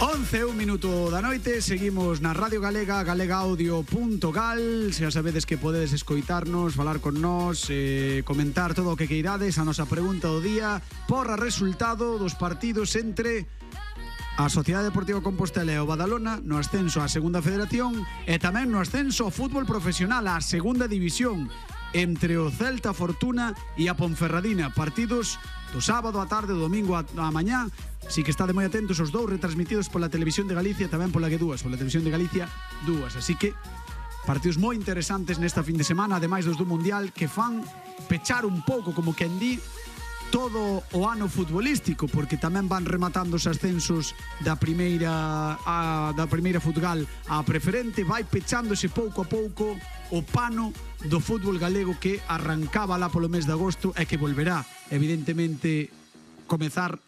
11, un minuto da noite. Seguimos na Radio Galega, galegaaudio.gal. Se xa sabedes que podedes escoitarnos, falar con nós, comentar todo o que queirades. A nosa pregunta do día: porra resultado dos partidos entre a Sociedade Deportiva Compostela e o Badalona no ascenso á Segunda Federación e tamén no ascenso ao fútbol profesional á Segunda División, entre o Celta Fortuna e a Ponferradina. Partidos do sábado á tarde, do domingo á mañá. Si que estade moi atentos os dous, retransmitidos pola Televisión de Galicia, tamén pola G2, pola Televisión de Galicia 2. Así que partidos moi interesantes nesta fin de semana, ademais dos do Mundial, que fan pechar un pouco, como quen di, todo o ano futbolístico, porque tamén van rematando os ascensos da primeira Futgal á preferente. Vai pechándose pouco a pouco o pano do fútbol galego, que arrancaba lá polo mes de agosto e que volverá, evidentemente, comezar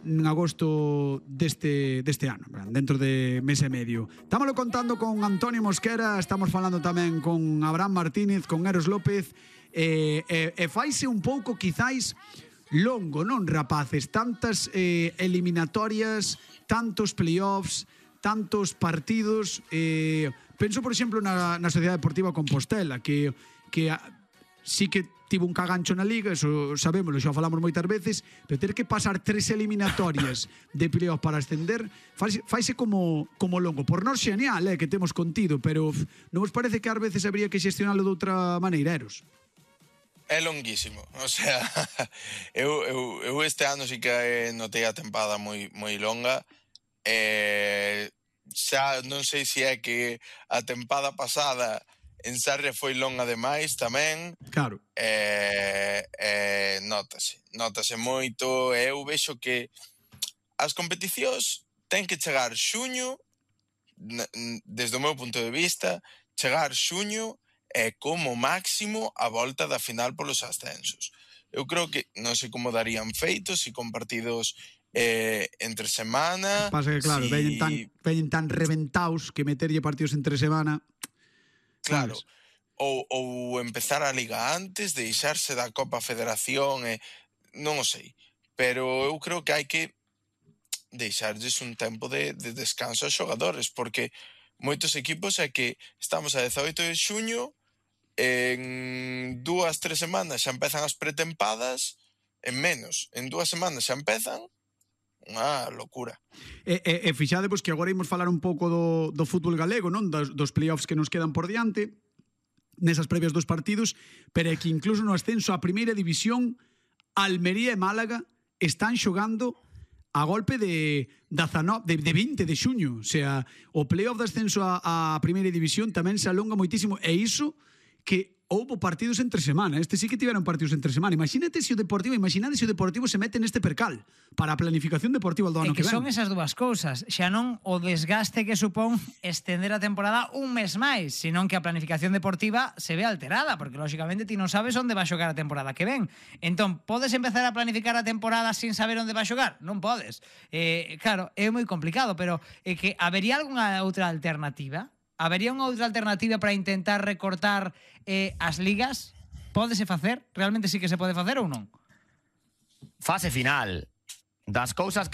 en agosto deste ano, dentro de mes e medio. Estámoslo contando con Antonio Mosquera, estamos falando tamén con Abraham Martínez, con Eros López, e faise un pouco, quizáis, longo, non, rapaces? Tantas eliminatorias, tantos playoffs, tantos partidos. Penso, por exemplo, na Sociedade Deportiva Compostela, que sí que tivo un cagancho na Liga, eso sabémoslo, xa falamos moitas veces, pero ter que pasar 3 eliminatorias de playoff para ascender faise como longo. Por nós xeneal, que temos contido, pero non vos parece que ás veces habría que xestionalo de outra maneira, Eros? É longuísimo, o sea, eu este ano sí que notei a tempada moi longa. Xa non sei se é que a tempada pasada en Sarria foi longa demais tamén. Claro. Notase moito. Eu vexo que as competicións ten que chegar xuño, desde o meu punto de vista, chegar xuño é como máximo a volta da final polos ascensos. Eu creo que non sei como darían feitos, se con partidos entre semana. Pasa que, claro, veñen tan reventaos que meterlle partidos entre semana. Claro, ou empezar a Liga antes, deixarse da Copa Federación, non o sei, pero eu creo que hai que deixarlles un tempo de descanso aos xogadores, porque moitos equipos é que estamos a 18 de xuño, en 2-3 semanas xa empezan as pretempadas, en 2 semanas xa empezan, unha locura. E fixadevos que agora imos falar un pouco do fútbol galego, non? Dos playoffs que nos quedan por diante nesas previas dos partidos, pero é que incluso no ascenso á primeira división, Almería e Málaga están xogando a golpe de 20 de xuño. O sea, o playoff de ascenso á primeira división tamén se alonga moitísimo, e iso que houbo partidos entre semana. Este sí que tiveron partidos entre semana. Imaginade se o Deportivo se mete neste percal para a planificación deportiva do ano que ven. Son esas dúas cousas, xa non o desgaste que supón estender a temporada un mes máis, senón que a planificación deportiva se ve alterada, porque lógicamente ti non sabes onde va a xogar a temporada que ven. Entón, podes empezar a planificar a temporada sin saber onde va a xogar? Non podes. Claro, é moi complicado, pero é que habería algunha outra alternativa? Habería unha outra alternativa para intentar recortar as ligas? Pódese facer? Realmente sí que se pode facer ou non? Fase final. Das cousas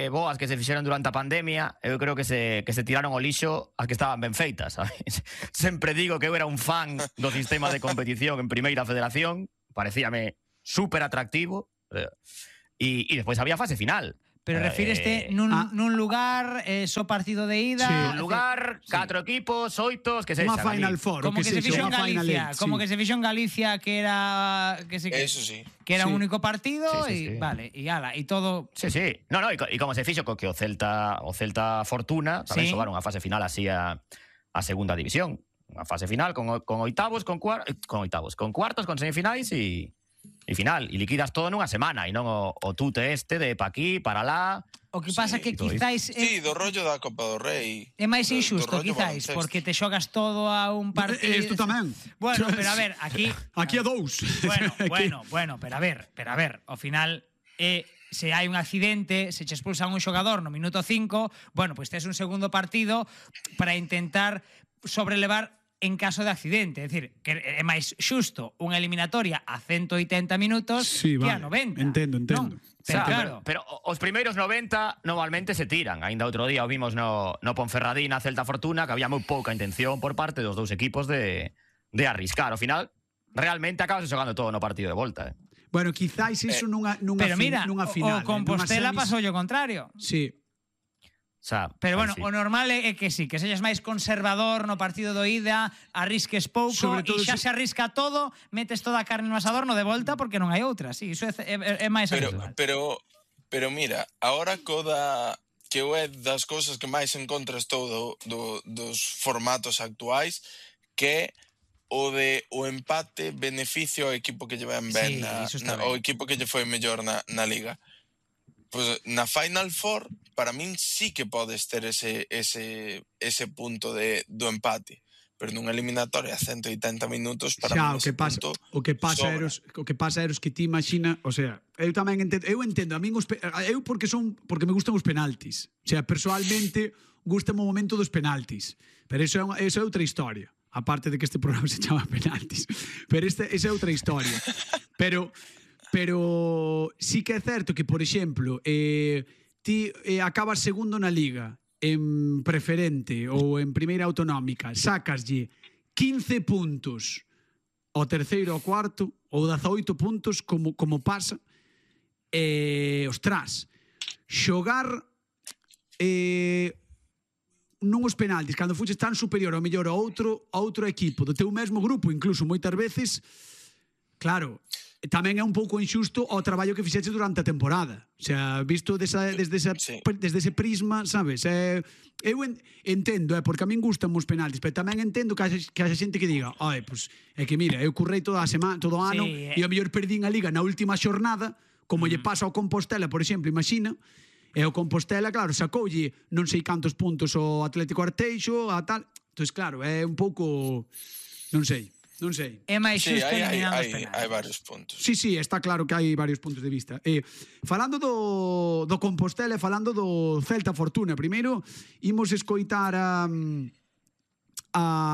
boas que se fixeron durante a pandemia, eu creo que se tiraron ao lixo as que estaban ben feitas, sabes? Sempre digo que eu era un fan do sistema de competición en Primeira Federación, parecíame super atractivo, e despois había fase final. Pero refíreste nun lugar, só partido de ida. Sí, un lugar, 4 equipos, 8, que se unha Final Four, como que se fixo en Galicia, como que se fixo en Galicia, que era eso sí, que era un único partido, sí. Vale, e ala, e todo. Sí. No, e como se fixo que o Celta Fortuna tamén xogaron a fase final así a Segunda División, unha fase final con oitavos, con cuartos, con semifinais e final, e liquidas todo nunha semana, e non o tute de pa aquí, para lá. O que pasa que quizáis do rollo da Copa do Rei é máis injusto, quizáis, porque te xogas todo a un partido. Isto tamén. Bueno, pero a ver, aquí a dous. Bueno, pero a ver, ao final se hai un accidente, se che expulsan un xogador no minuto 5, bueno, pois tes un segundo partido para intentar sobrelevar en caso de accidente. É dicir, que é máis xusto unha eliminatoria a 180 minutos Sí, que vale. a 90. Entendo. Non? Pero claro, Pero os primeiros 90 normalmente se tiran. Ainda outro día o vimos no Ponferradina, Celta Fortuna, que había moi pouca intención por parte dos dous equipos de arriscar. Ao final, realmente acabas xogando todo no partido de volta. Bueno, quizáis iso nunha pero mira, nunha final. o Compostela nunha semis- pasou o contrario. Sí. O sea, Pero bueno, sí. o normal é que sí, que sexas máis conservador no partido do ida, arrisques pouco Sobre todo e xa se- se arrisca todo, metes toda a carne no asador no de volta porque non hai outra. Sí, iso é máis habitual. Pero mira, ahora que é das cousas que máis encontras todo dos formatos actuais, que o empate beneficio ao equipo que lle van ben, Sí, iso está o ben. equipo que lle foi mellor na liga. Pois na Final Four, para min sí que podes ter ese punto do empate, pero nunha eliminatoria a 180 minutos para Xa, min ese punto o que pasa sobra. eros que ti imagina, o sea, eu tamén entendo, a min eu porque me gustan os penaltis. O sea, personalmente gustame o momento dos penaltis, pero eso é outra historia. Aparte de que este programa se chama penaltis, pero esa é outra historia. Pero sí que é certo que, por exemplo, ti acabas segundo na Liga en preferente ou en primeira autonómica, sacaslle 15 puntos ao terceiro ou cuarto ou 18 puntos como pasa, ostras, xogar non os penaltis cando fuches tan superior ao mellor a outro equipo do teu mesmo grupo, incluso moitas veces, claro, tamén é un pouco injusto ao traballo que fixeche durante a temporada. O sea, visto desde ese prisma, sabes? Eu entendo, porque a min gustan os penaltis, pero tamén entendo que haxa xente que diga, pues, é que mira, eu currei toda a semana, todo o ano, Sí, e ao mellor perdín a Liga na última xornada, como lle pasa ao Compostela, por exemplo, imagina, e o Compostela, claro, sacoulle non sei cantos puntos ao Atlético Arteixo, a tal. Entón, claro, é un pouco, non sei. É máis Sí, xusto eliminando os hai penaltis. varios puntos. Sí, está claro que hai varios puntos de vista. Falando do Compostela e falando do Celta Fortuna, primeiro imos escoitar a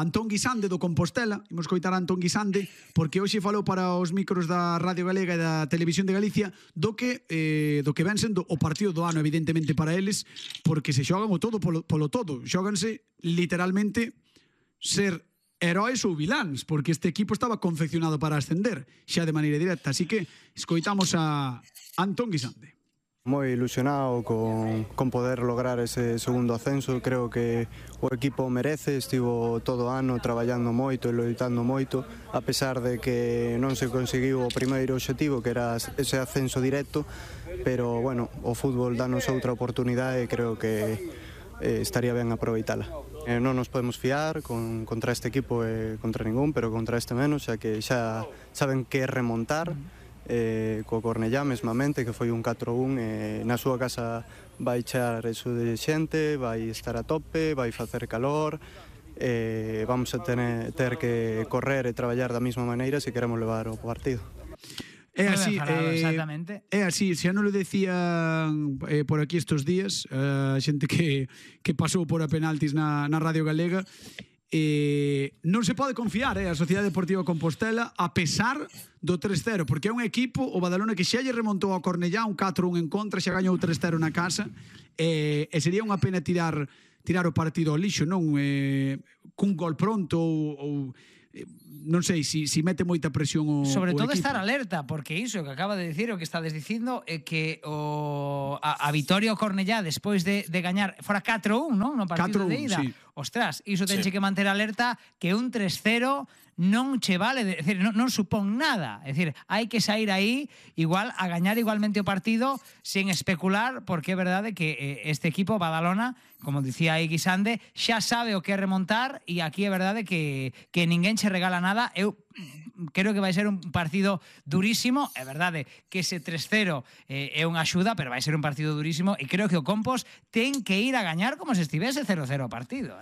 Antón Guisande do Compostela, imos escoitar a Antón Guisande porque hoxe falou para os micros da Radio Galega e da Televisión de Galicia do que ven sendo o partido do ano, evidentemente para eles, porque se xogan o todo polo todo, xóganse literalmente ser heróis ou viláns, porque este equipo estaba confeccionado para ascender xa de maneira directa, así que escoitamos a Antón Guisande. Moi ilusionado con poder lograr ese segundo ascenso. Creo que o equipo merece, estivo todo o ano traballando moito e loitando moito, a pesar de que non se conseguiu o primeiro obxectivo, que era ese ascenso directo, pero bueno, o fútbol danos outra oportunidade e creo que estaría ben aproveitala. Non nos podemos fiar contra este equipo e contra ningún, pero contra este menos, xa que xa saben que é remontar, co Cornellá mesmamente, que foi un 4-1, na súa casa vai char eso de xente, vai estar a tope, vai facer calor, vamos a ter que correr e traballar da mesma maneira se queremos levar o partido. É así, exactamente. É así, xa non lo decían por aquí estos días, a xente que pasou por a penaltis na Radio Galega, non se pode confiar a Sociedade Deportiva Compostela a pesar do 3-0, porque é un equipo, o Badalona, que xa lle remontou ao Cornellá un 4-1 en contra, xa gañou 3-0 na casa, e sería unha pena tirar o partido ao lixo, non? Cun gol pronto ou non sei se mete moita presión o Sobre todo equipo. estar alerta, porque iso que acaba de dicir, o que estades dicindo, é que a vitoria ao Cornellá despois de gañar fora 4-1, non? No partido 4-1, de ida. sí. Ostras, iso tenche Sí. que manter alerta que un 3-0 non che vale, é dicir, non supón nada. É dicir, hai que sair aí igual a gañar igualmente o partido sen especular, porque é verdade que este equipo Badalona, como dicía aí Guisande, xa sabe o que é remontar, e aquí é verdade que ninguén che regala nada. Eu creo que vai ser un partido durísimo. É verdade que ese 3-0 é unha axuda, pero vai ser un partido durísimo, e creo que o Compos ten que ir a gañar como se estivese 0-0 o partido,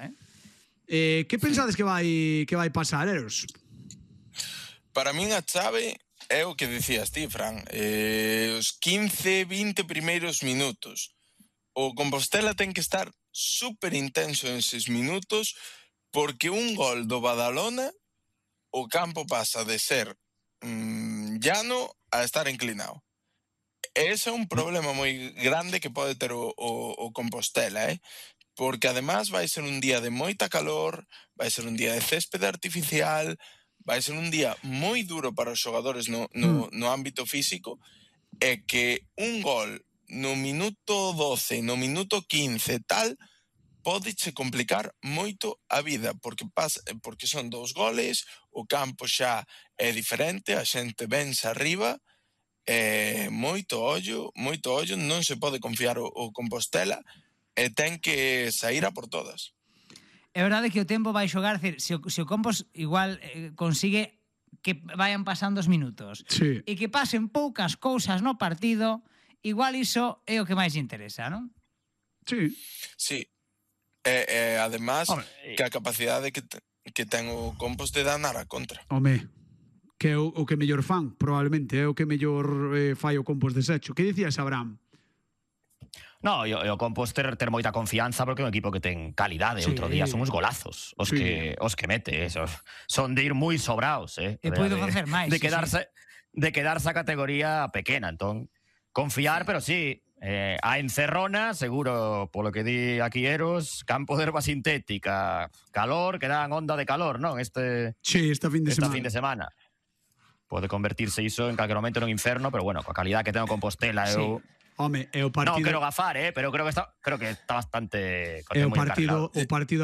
Que pensades que vai pasar, Eros? Para min a chave é o que dicías ti, Fran, os 15-20 primeiros minutos. O Compostela ten que estar super intenso en 6 minutos porque un gol do Badalona o campo pasa de ser llano a estar inclinado. Ese é un problema moi grande que pode ter o Compostela, porque además vai ser un día de moita calor, vai ser un día de céspede artificial, vai ser un día moi duro para os xogadores no ámbito físico, e que un gol no minuto 12, no minuto 15 tal, pódeche complicar moito a vida, porque son 2 goles, o campo xa é diferente, a xente vense arriba, moito ollo, non se pode confiar o Compostela, e ten que sair a por todas. É verdade que o tempo vai xogar, se o Compos igual consigue que vayan pasando os minutos Sí. e que pasen poucas cousas no partido, igual iso é o que máis interesa, non? Sí. Sí. Además, que a capacidade que ten o Compos de danar a contra. Home, que é o que mellor fan, probablemente, é o que mellor fai o Compos desecho. Que dicías, Abraham? No, o Compos ter moita confianza porque é un equipo que ten calidade. Sí. Outro día son uns golazos os que mete. Son de ir moi sobraos, E podo facer máis. De quedarse a categoría pequena. Entón, confiar, pero sí, a encerrona, seguro, polo que di aquí Eros, campo de herba sintética, calor, que dan onda de calor, non? Sí, esta fin de semana. Pode convertirse iso en calquer momento nun inferno, pero bueno, coa calidad que ten o Compostela, eu... Home, é o partido... Non quero gafar, pero creo que está bastante... É o partido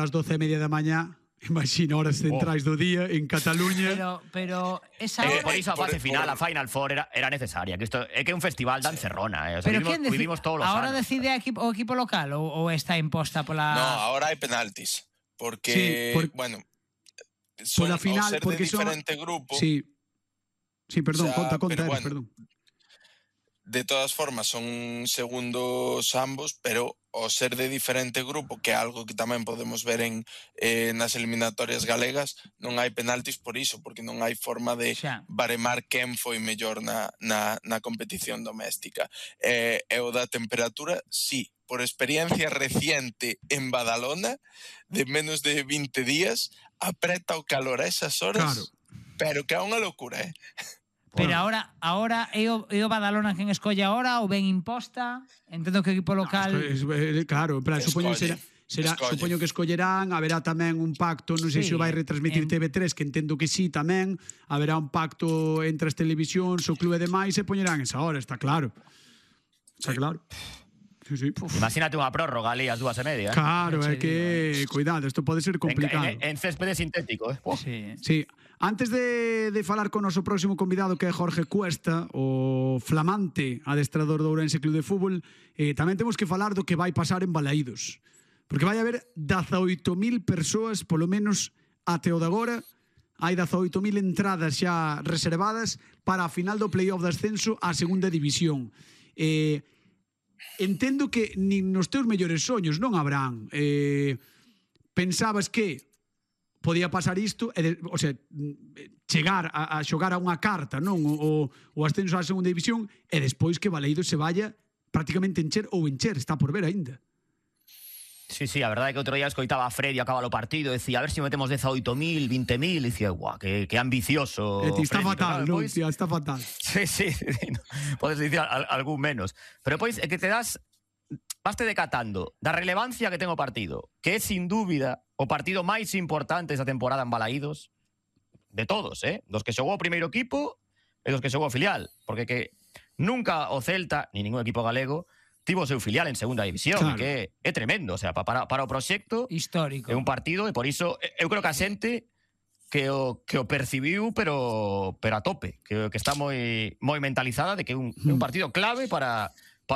ás 12:30 da mañá, imagina horas centrais do día en Cataluña. Pero esa hora... Por iso a fase final, a Final Four era necesaria. Que isto é que é un festival da encerrona. Pero quen vivimos todos os anos. Ahora decide o equipo local ou está imposta pola... No, ahora hai penaltis. Porque, bueno, pola final, ao ser porque de diferente grupo... Sí, perdón, o sea, conta, bueno, perdón. De todas formas, son segundos ambos, pero ao ser de diferente grupo, que é algo que tamén podemos ver nas eliminatorias galegas, non hai penaltis por iso, porque non hai forma de baremar quen foi mellor na competición doméstica. E o da temperatura, sí, por experiencia reciente en Badalona, de menos de 20 días, apreta o calor a esas horas, claro. Pero que é unha locura, Pero ahora é o Badalona quen escolle ahora ou ben imposta? Entendo que o equipo local... Claro, supoño que escollerán, haberá tamén un pacto, non sei se o vai retransmitir TV3, que entendo que sí tamén, haberá un pacto entre as televisións, o clube e demais, e poñerán esa hora, está claro. Está claro. Sí. Imagínate unha prórroga ali ás 2:30. Claro, é que, cuidado, isto pode ser complicado. En céspede sintético, Sí. Antes de falar con o noso próximo convidado, que é Jorge Cuesta, o flamante adestrador do Ourense Club de Fútbol, tamén temos que falar do que vai pasar en Balaídos. Porque vai haber 18.000 persoas, polo menos até o de agora, hai 18.000 entradas xa reservadas para a final do playoff de ascenso á segunda división. Entendo que nin nos teus mellores soños, non, Abraham? Pensabas que podía pasar isto, o sea, chegar a xogar a unha carta, non? O ascenso á segunda división, e despois que Balaídos se vaya prácticamente encher, está por ver aínda. Sí, a verdade é que outro día escoitaba a Freddy acaba o partido, decía, a ver se metemos 18.000, 20.000, e dicía, guau, que ambicioso. Está fatal, non? Está fatal. Sí, podes dicir algún menos. Pero depois é que vaste decatando da relevancia que ten o partido, que é sin dúbida o partido máis importante esa temporada en Balaídos, de todos, dos que xogou o primeiro equipo e dos que xogou o filial, porque que nunca o Celta, ni ningún equipo galego, tivo o seu filial en segunda división, claro. Que é tremendo, o sea, para o proxecto histórico. É un partido, e por iso eu creo que a xente que o percibiu, pero a tope, que está moi mentalizada de que é un partido clave para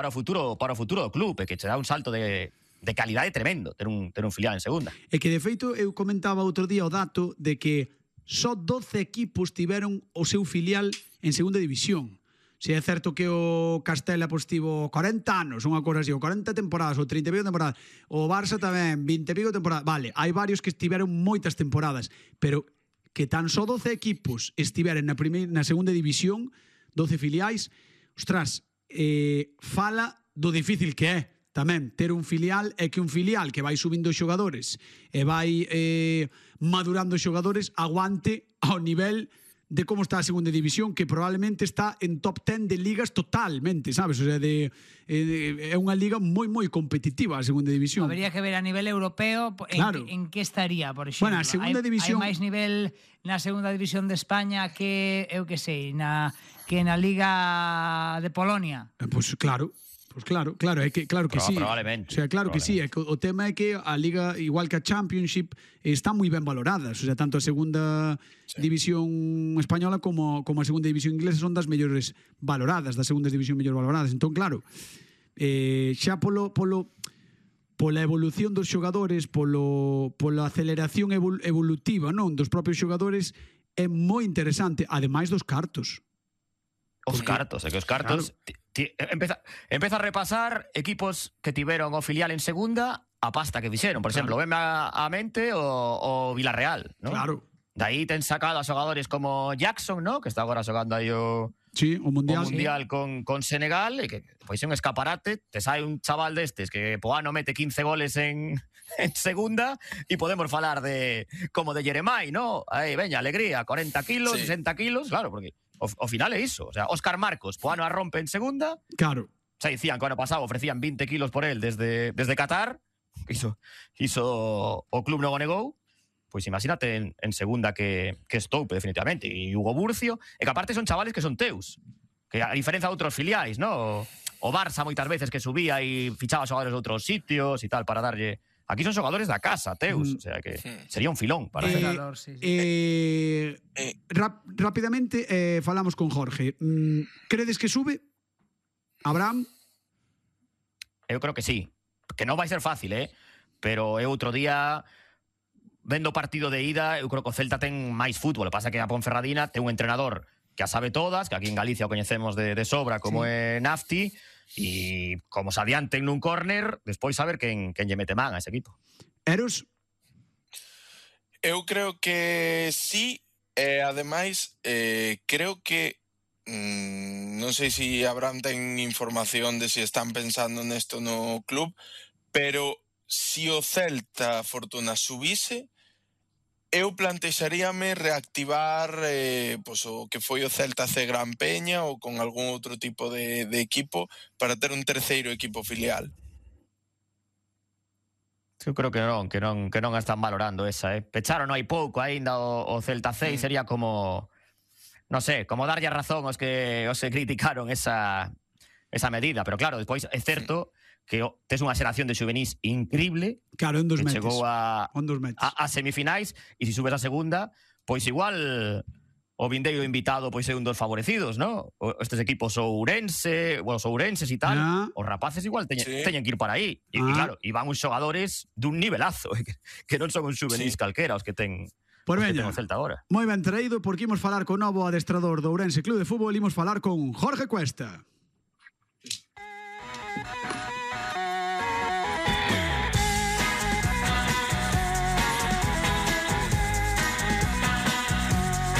o futuro do club, e que che dá un salto de calidade tremendo ter un filial en segunda. E que de feito eu comentaba outro día o dato de que só 12 equipos tiveron o seu filial en segunda división. Se é certo que o Castela tivo 40 anos, unha cosa así, ou 40 temporadas, ou 30 e pico temporadas, o Barça tamén, 20 e pico temporadas, vale, hai varios que estiveron moitas temporadas, pero que tan só 12 equipos estiveren na segunda división, 12 filiais, ostras, fala do difícil que é tamén ter un filial é que un filial que vai subindo xogadores e vai madurando xogadores aguante ao nivel de como está a segunda división, que probablemente está en top 10 de ligas totalmente, sabes? O sea, é unha liga moi, moi competitiva a segunda división. Habría que ver a nivel europeo en que estaría, por exemplo. Bueno, a segunda división... Hai máis nivel na segunda división de España que, eu que sei, na Liga de Polonia. Pois claro, é que claro que sí. Probablemente. O sea, claro que sí, é que o tema é que a liga, igual que a Championship, está moi ben valoradas, o sea, tanto a segunda división española como a segunda división inglesa son das mellores valoradas, das segundas división mellor valoradas. Entón, claro, xa pola evolución dos xogadores, pola aceleración evolutiva, non, dos propios xogadores, é moi interesante, ademais dos cartos. Os cartos, é que os cartos... Claro. Empeza a repasar equipos que tiveron o filial en segunda a pasta que fixeron. Por exemplo, veme a mente o Villarreal, ¿no? Claro. De aí ten sacado a xogadores como Jackson, ¿no? Que está agora xogando aí o Mundial con Senegal, e que pois é un escaparate. Te sai un chaval destes que po ano mete 15 goles en segunda e podemos falar como de Jeremai, ¿no? Aí, veña, alegría, 40 kilos, 60 kilos, claro, porque ao final é iso. O sea, Óscar Marcos, po ano a rompe en segunda. Claro. Xa dicían que o ano pasado ofrecían 20 kilos por él desde Qatar. Iso o club non o negou. Pois imagínate en segunda que estoupe definitivamente. E Hugo Burcio, e que aparte son chavales que son teus. Que a diferencia de outros filiais, ¿no? O Barça moitas veces que subía e fichaba xogadores de outros sitios e tal para darlle... Aquí son xogadores da casa, teus, o sea que sería un filón para rápidamente falamos con Jorge. Credes que sube? Abraham? Eu creo que sí. Que non vai ser fácil, pero eu outro día vendo o partido de ida, eu creo que o Celta ten máis fútbol. O que pasa que a Ponferradina ten un entrenador que a sabe todas, que aquí en Galicia o coñecemos de sobra, como é Nafti, e como se adianten nun córner, despois saber quen lle mete man a ese equipo. Eros? Eu creo que sí, ademais, creo que non sei se Abraham ten información de se están pensando nesto no club, pero se o Celta Fortuna subise, eu plantexaríame reactivar o que foi o Celta C Gran Peña ou con algún outro tipo de equipo para ter un terceiro equipo filial. Eu creo que non a están valorando esa. Pecharon hai pouco aínda o Celta C e sería como, non sé, como darlle a razón aos que criticaron esa medida. Pero claro, despois é certo que tes unha xeración de juvenis increíble. Claro, en 2 meses. Chegou a semifinais, e se subes a segunda, pois igual o vindeiro invitado pois é un dos favorecidos, ¿no? Estes equipos ourenses e tal, os rapaces igual teñen que ir para aí. E claro, e van uns xogadores dun nivelazo, que non son un juvenis calquera os que ten... Pois veña, moi ben traído, porque imos falar con novo adestrador do Ourense Club de Fútbol, imos falar con Jorge Cuesta.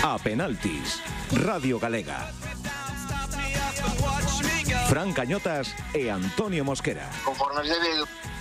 A penaltis, Radio Galega. Fran Cañotas e Antonio Mosquera. Conforme se ve